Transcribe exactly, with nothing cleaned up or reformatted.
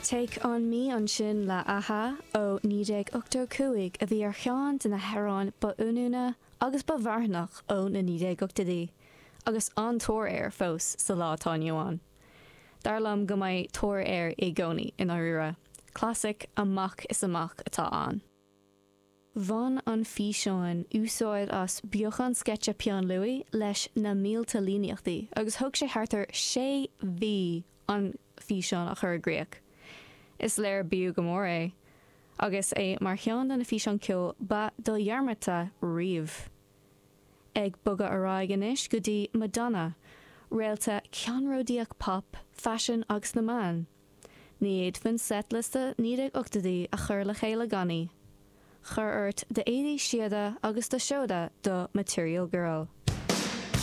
Take on Me ansin le a-ha ó naoi déag ochtó cúig a bhí ar cheann de na hamhráin ba oiriúnaí agus ba mharthanach ó na naoi déag ochtóidí, agus an-tóir air fós sa lá atá inniu ann. Dar liom go mbeidh tóir air i gcónaí i ndáiríre. Clasaic amach is amach atá ann. Bhain an físeán úsáid as beochan sceitse peann luaidhe leis na mílte líníochtaí agus thóg sé thart ar sé mhí an físeán a chur i gcrích. Is léir b'fhiú go mór é, agus é mar cheann de na físeáin ceoil ba dhodhearmadta riamh. Ag bogadh ar aghaidh anois go dtí Madonna, réalta ceannródaíoch pop, faisin agus na meán. Ní fhéadfainn seitliosta naoi déag ochtóidí a chur le chéile gan í. Cuir ort d'éadaí síoda agus do sheoda do Material Girl.